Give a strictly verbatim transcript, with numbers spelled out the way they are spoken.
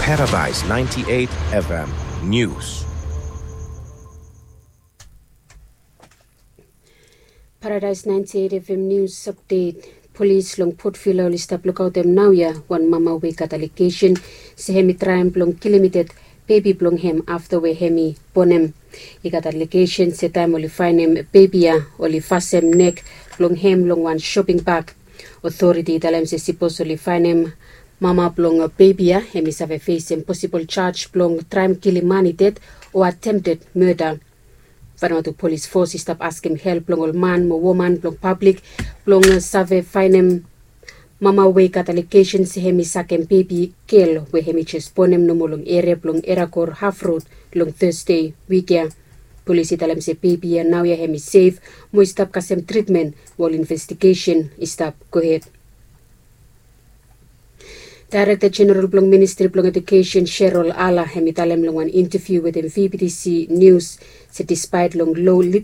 Paradise ninety-eight F M News. Paradise ninety-eight F M News update. Polis long Port Vila oli stap lukaotem naoia wan mama we i gat alegesen se hem i traem blong kilim i ded bebi blong hem afta we hem i bonem. I gat alegesen se taem oli faenem bebi ya, oli fasem nek blong hem long wan shoping bak. Otoriti i talem se sipos oli faenem mama blong bebi ya, hem i save fesem posibol jaj blong traem kilim man i ded o atemted murda. Vanuatu Polis Fos i stap askem help blong ol man mo woman blong pablik blong save faenem mama we i gat alegesen se hem i sakem bebi gel we hem i jes bonem nomo long eria blong Erakor Haf Rod long Tasde wik ya. Polis i talem se bebi ya naoia hem i sef mo i stap kasem tritmen, we ol investigesen i stap gohed. Daerekta Jeneral blong Ministri blong Ejukesen, Sherol Ala, hem i talem long wan intaviu wetem V B T C Nius se dispaet long lo